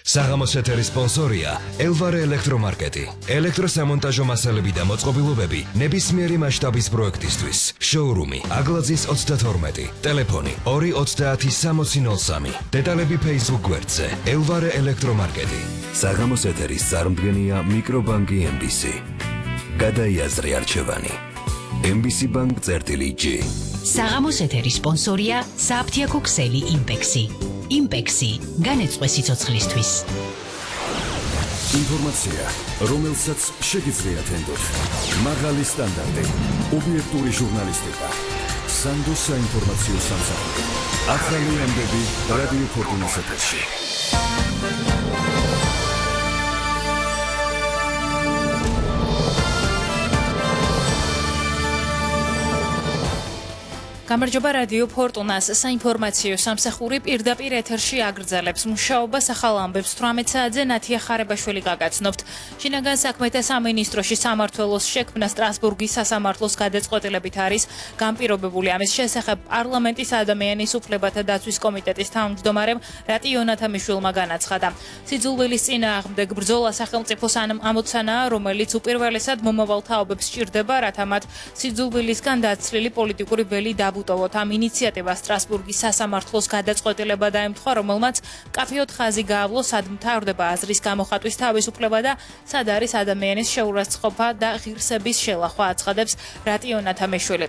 საღამოს ეთერის სპონსორია ელვარე ელექტრომარკეტი. ელექტროსამონტაჟო მასალები და მოწყობილობები ნებისმიერი მასშტაბის პროექტისთვის. შოურუმი აგლაძის 32. ტელეფონი 230-6003. დეტალები Facebook გვერდზე ელვარე ელექტრომარკეტი. საღამოს ეთერის წარმდგენია მიკრობანკი MBC. გადაიაზრე არჩევანი. MBC Bank-G. საღამოს ეთერის სპონსორია საფთიაქო ქსელი იმპექსი. იმპექსი განეწყვე სიცოცხლისთვის. ინფორმაცია, რომელსაც შეგიძლიათ ენდოთ. მაღალი სტანდარტი, ობიექტური ჟურნალისტიკა. სანდო საინფორმაციო სამსახური. ახალი ამბები რადიო ფორტუნის ეთერში. გამარჯობა რადიო ფორტუნას საინფორმაციო სამსახური პირდაპირ ეთერში აგრძელებს მუშაობას ახალ ამბებს 18 საათზე ნათია ხარებაშვილი გაგაცნობთ. შინაგან საქმეთა სამინისტროში სამმართველოს შექმნა სტრასბურგის სასამართლოს გადაწყვეტილებით არის განპირობებული. ამის შესახებ პარლამენტის ადამიანის უფლებათა დაცვის კომიტეტის თავმჯდომარემ რატი იონათამიშვილმა განაცხადა. სიძულვილის წინააღმდეგ ბრძოლა სახელმწიფოს ამოცანაა, რომელიც უპირველესად მომავალ თაობებს სჭირდება, რათა მათ სიძულვილისგან დაცლილი პოლიტიკური ველი უტოვოთ ამ ინიციატივას სტრასბურგის სასამართლოს გადაწყვეტილება დაემთხვა, რომელმაც მკაფიოდ ხაზი გაავლო, სად მთავრდება აზრის გამოხატვის თავისუფლება და სად არის ადამიანის შეურაცხყოფა და ღირსების შელახვა, აცხადებს რატი იონათამიშვილი.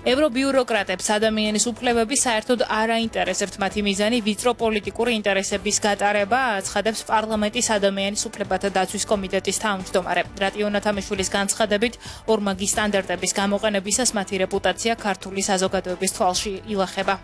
ევრობიუროკრატებს ადამიანის უფლებები საერთოდ არ აინტერესებთ, მათი მიზანი ვიწრო პოლიტიკური ინტერესების გატარება, აცხადებს პარლამენტის ადამიანის უფლებათა დაცვის კომიტეტის თავმჯდომარე. რატი იონათამიშვილის განცხადებით, ორმაგი სტანდარტების გამოყენებისას მათი რეპუტაცია ქართული საზოგადოების თვალში ილახება.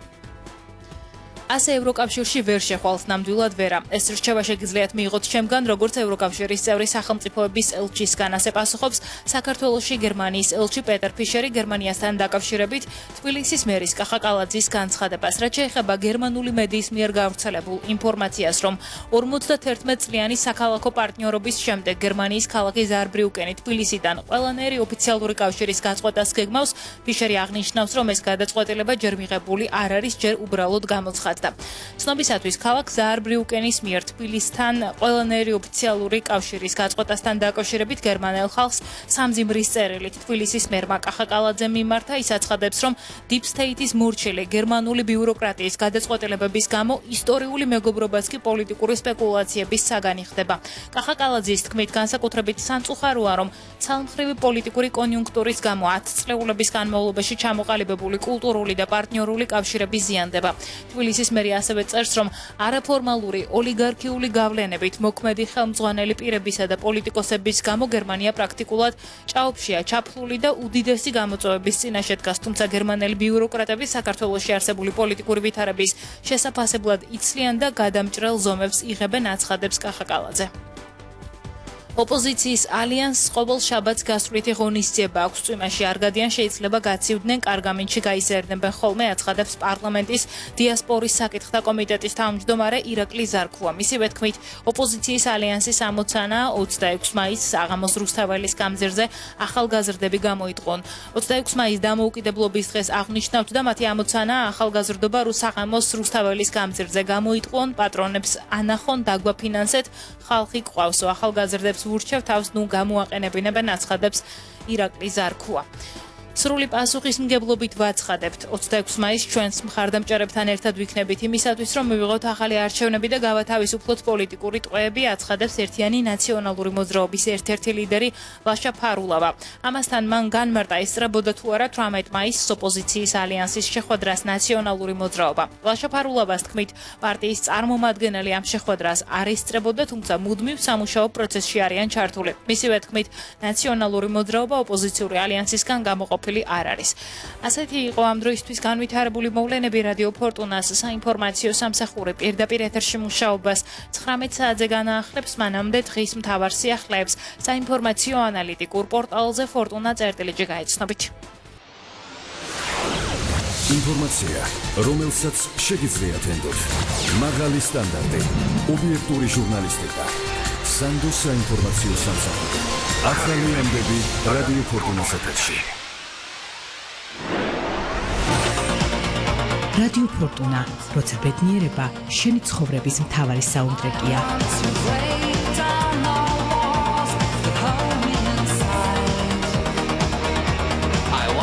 ასე ევროკავშირში ვერ შეხვალთ ნამდვილად ვერა. ეს რჩევა შეგიძლიათ მიიღოთ ჩემგან, როგორც ევროკავშირის წევრი სახელმწიფოების ელჩისგან. ასე პასუხობს საქართველოში გერმანიის ელჩი პეტერ ფიშერი გერმანიასთან დაკავშირებით თბილისის მერის კახა კალაძის განცხადებას. რაც შეეხება გერმანული მედიის მიერ გავრცელებულ ინფორმაციას, რომ 51 წლიანი საქალაქო პარტნიორობის შემდეგ გერმანიის ქალაქი ზაარბრიუკენი თბილისიდან ყველანაირი ოფიციალური კავშირის გაწყვეტას გეგმავს, ფიშერი აღნიშნავს, რომ ეს გადაწყვეტილება ჯერ მიღებული არ არის, ჯერ უბრალოდ გამოცხადდა. ცნობისათვის ქალაქ ზაარბრიუკენის მიერ თბილისთან ყველანაირი ოფიციალური კავშირის გაწყვეტასთან დაკავშირებით გერმანელ ხალხს სამძიმრის წერილით თბილისის მერმა კახა კალაძემ მიმართა. ის აცხადებს, რომ Deep State-ის მორჩილი გერმანული ბიუროკრატიის გადაწყვეტილებების გამო ისტორიული მეგობრობაც კი პოლიტიკური სპეკულაციების საგანი ხდება. კახა კალაძის თქმით, განსაკუთრებით სამწუხაროა, რომ ცალმხრივი პოლიტიკური კონიუნქტურის გამო 10 წლეულების განმავლობაში ჩამოყალიბებული კულტურული და პარტნიორული კავშირები ზიანდება. თბილისის მერი ასევე წერს, რომ არაფორმალური ოლიგარქიული გავლენებით მოქმედი ხელმძღვანელი პირებისა და პოლიტიკოსების გამო გერმანია პრაქტიკულად ჭაობშია ჩაფლული და უდიდესი გამოწვევების წინაშე დგას, თუმცა გერმანელი ბიუროკრატები საქართველოში არსებული პოლიტიკური ვითარების შესაფასებლად იცლიან და გადამჭრელ ზომებს იღებენ, აცხადებს კახა კალაძე. ოპოზიციის ალიანსს ყოველ შაბათს გასვლითი ღონისძიება აქვს. წვიმაში არ გადიან, შეიძლება გაცივდნენ, კარგამინჩი გაიზარდნებენ ხოლმე, აცხადებს პარლამენტის დიასპორის საკითხთა კომიტეტის თავმჯდომარე ირაკლი ზარქუა. მისივე თქმით, ოპოზიციის ალიანსის ამოცანაა 26 მაისს საღამოს რუსთაველის გამზირზე ახალგაზრდები გამოიტყონ. 26 მაისს დამოუკიდებლობის დღეს აღნიშნავთ და მათი ამოცანაა ახალგაზრდობა საღამოს რუსთაველის გამზირზე გამოიტყონ, პატრონებს ანახონ, დაგვაფინანსეთ, ხალხი გყავსო, ახალგაზრდებს ურჩევ თავს ნუ გამოაყენებინებენ, აცხადებს ირაკლი ზარქუა. სრული პასუხისმგებლობით ვაცხადებთ. 26 მაისს ჩვენს მხარდამჭერებთან ერთად ვიქნებით იმისათვის, რომ მივიღოთ ახალი არჩევნები და გავათავისუფლოთ პოლიტიკური ტყვეები, აცხადებს ერთიანი ნაციონალური მოძრაობის ერთ-ერთი ლიდერი ლაშა ფარულავა. ამასთან მან განმარტა, ესწრებოდა თუ არა 18 მაისს ოპოზიციის ალიანსის შეხვედრას ნაციონალური მოძრაობა. ლაშა ფარულავას თქმით, პარტიის წარმომადგენელი ამ შეხვედრას არ ესწრებოდა, თუმცა მუდმივ სამუშაო პროცესში არიან ჩართული. მისივე თქმით, ნაციონალური მოძრაობა ოპოზიციური ალიანსისგან გამოყოფილი არ არის. ასეთი იყო ამ დროისთვის განვითარებული მოვლენები. რადიო ფორტუნას საინფორმაციო სამსახური პირდაპირ ეთერში მუშაობას 19 საათზე განაახლებს, მანამდე დღის მთავარ სიახლეებს საინფორმაციო ანალიტიკურ პორტალზე fortuna.gr გაიცნობით. ინფორმაცია, რომელსაც შეგიძლიათ ენდოთ. მაღალი სტანდარტი, ობიექტური ჟურნალისტიკა. სანდო საინფორმაციო სამსახური. ახალი ამბები რადიო ფორტუნის ეთერში. რადიო ფორტუნა, როცა ბედნიერება შენი ცხოვრების მთავარი საუნდტრეკია.